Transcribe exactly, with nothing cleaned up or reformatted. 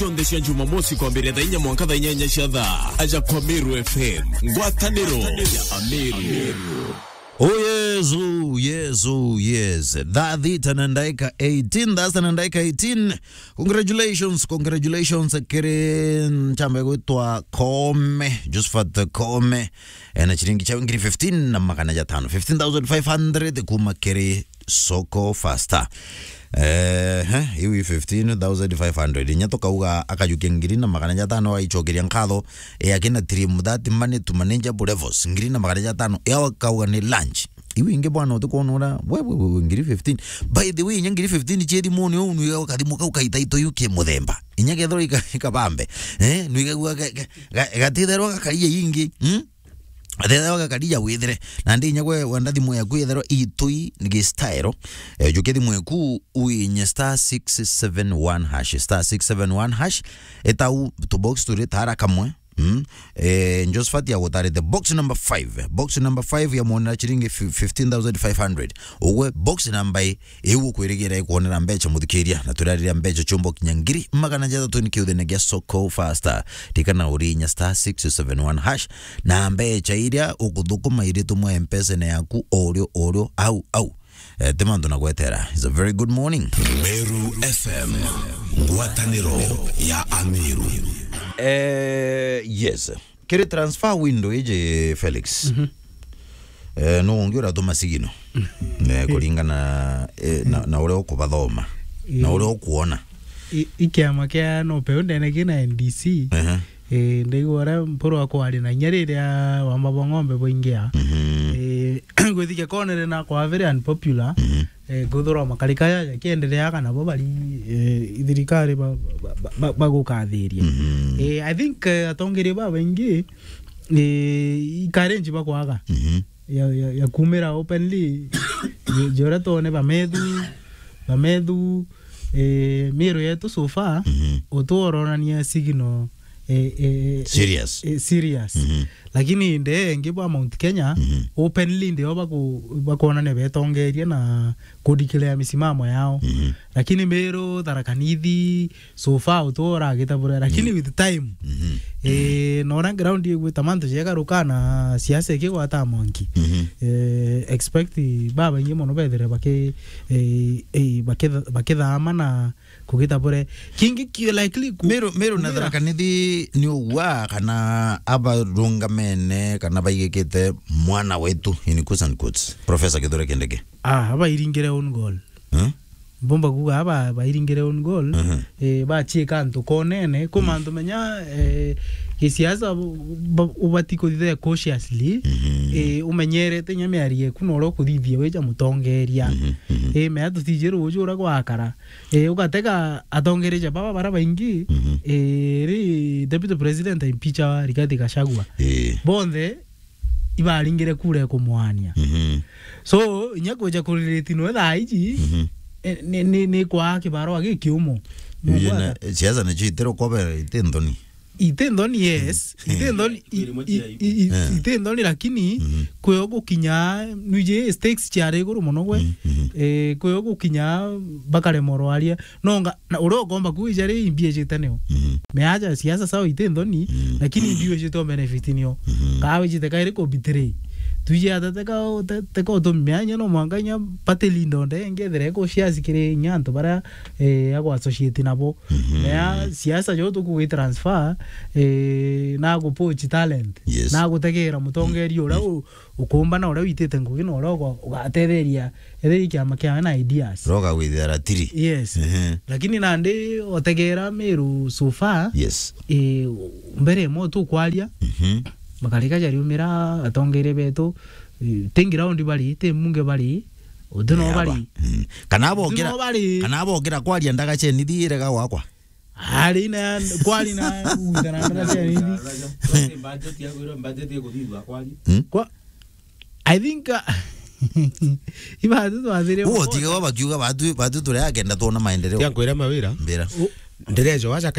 Cionthe cia Jumamosi kwambiria thaa inya mwanka thaa inyanya cia thaa. Aja kwa Meru F M. Ngwataniro ya Ameru. Oh yes, oh yes, oh yes. Thaa thita na ndaika eighteen, thaa sita na ndaika eighteen. Congratulations, congratulations, kiri nchamba gwitwa Kome, Josephat Kome, ena chiringi cha ngiri fifteen na magana jatano, fifteen thousand five hundred kuma kiri Soko Fasta. Eh, he, iu i fifteen thousand five hundred. Inya tukauga akajukia ngiri na magana jatano, aichokeria nkatho, e, akina Trim that money to manageable levels. Ngiri na magana jatano, e, akauga ni lunch. Iu ingi bwana, utikwona ura, we, we, we, we, ngiri fifteen. By the way, inya ngiri fifteen cie thimuni uu, nwiga kathimu kau kaita ito yu ki muthemba. Inya kethirwa ika-, ikabambe. Eh, nwiga gua ga-, ga-, ga-, gatitherwa gakaria ingi. Hmm? Athethawa gakaria withire. Na ndi inya gwe wenda thimu yaku yetherwa itui ngi style. Eh, jukia thimu yaku uinye star six seven one hash, star six seven one hash. Etau tu box turi tara kamwe. Mm. Eh, Josephat agutarite box number five. Box number five ya mwonera chiringi fi-, fifteen thousand five hundred. Ugwe box number i-, iu ukwirigira ikwonera mbecha muthikiria, na turarira mbecha chumbo kinya ngiri magana jathatu ni kiuthene gia Soko Fasta. Ririkana urinya star six seven one hash, na mbecha iria ukuthukuma iritumwa M-Pesa-ine yaku orio, orio, au, au. Eh, ti mantu na gwetera. It's a very good morning. Meru F M, ngwataniro ya Ameru. Eh, yes. Kiri transfer window iji, Felix. Mhm. Eh, no ungi uratuma sigino. Eh, kuringana, eh, na, na uria ukubathoma. Na uria ukuona. I, i kiama kia no peu ndene kina N D C. Ehe. Eh, ndaigua uria Mpuru akwaria na inya riria wamba bwa ng'ombe bwaingia. Mhm. Eh, gwithikia konere na kwa very unpopular. Mhm. Eh, kwithirwa makarika jaja kiendereaga nabo bari, eh, thirikari ba, ba, ba, ba, bagukathiria. Mhm. Eh, I think, eh, atongeria babaingi, eh, i courage bakwaga. Mhm. Ya, ya, ya kumira openly, jo-, jora tone bamethu, bamethu, eh, miru yetu so far, mhm, utuoronania signal, eh, eh, eh, serious. Eh, serious. Mhm. Lakini nde engi bwa Mount Kenya, mhm, openly ndio baku-, bakuonania betongerie na kudeclare misimamo yao. Mhm. Lakini Meru, Tharaka Nithi, so far utu uragita buria, lakini, mm, with time, mhm, eh, nora ground igwita mantu jegaruka na siasa ikigwata mwanki. Mhm. Eh, expect babaingi mono bethire baki-, eh, eh, bakitha-, bakithama na kugita buria. Kingi ki likely ku-, Meru, Meru na kumira. Tharaka Nithi ni ugwa kana abarungamene kana baigikite mwana wetu, in quotes and quotes, Professor Kithure Kindiki? Ah, abairingire own goal. Eh? Mbomba kuuga aba bairingire own goal, mhm, eh, bachiika antu konene, ku, mm, mantu menya, eh, gisiasa bu-, bu-, ubati kuthithia cautiously, mhm, eh, umenyerete inya miario eku na uria ukuthithia wija mutongeria. Mhm, mhm. Eh, mea tutiji ruuju uria gwakara. Eh, ugatega atongeria baba bara baingi, mhm, eh, ri Deputy President impeacha Rigathi Gachagua. Eh. Bonthe ibaringire kura ya kumwania. Mhm. So, inya kwija kurelate noe thaa iji, mhm, eh, ni, ni, ni kwaa kibarua gikiumu. Ije na, siasa nicio itiro kobe ite nthoni. Ite nthoni, yes. Mhm. Ite nthoni, i-, i-, i-, i-, eh, ite nthoni, lakini, mhm, kwio gukinya, nwiji stakes ciari iguru mono gwe. Mhm, mhm. Eh, kwio gukinya bakaremorwa aria. Nonga, na uria ukomba kwija ri imbi ijite nio. Mhm. Meaja siasa sawa ite nthoni, mhm, lakini imbi ijite o benefit nio. Mhm. Kaa wijite kairi ku betray. Twiji ata teka, te-, teka utumi meanya no mwanka inya party leader onde ngethire ku shares kiri inya antu bara, eh, agwa associate nabo. Mhm. Mea siasa jo tukugi transfer, eh, na gu poach talent. Yes. Na gutegera mutongeria uria, mhm, u-, ukumba na uria witite ngugi na uria uga-, ugatetheria, etheria kiama kiawe na ideas. Roga gwithira ratiri. Yes. Ehe. Lakini nandi otegera Meru so far, yes, eh, mbere mo tukwaria, mhm, makarika jariumira atongeria betu, eh, ti ground bari, ti mbunge bari, uti no bari. Mm. Kana abo uti no bari. Kana abo ukira kwaria ndaga cheni thire ga gwakwa. Ari na kwari na uta na ndara cia nini? Budget ya kwira budget ya kuthithwa kwari. Hmm? Kwa, I think, uh, iba tu twathire. Uo tiga wa bakiuga batu, batu turi agenda tuona maendeleo. Tia kwira mawira. Mbira. U- Ndirejo wacha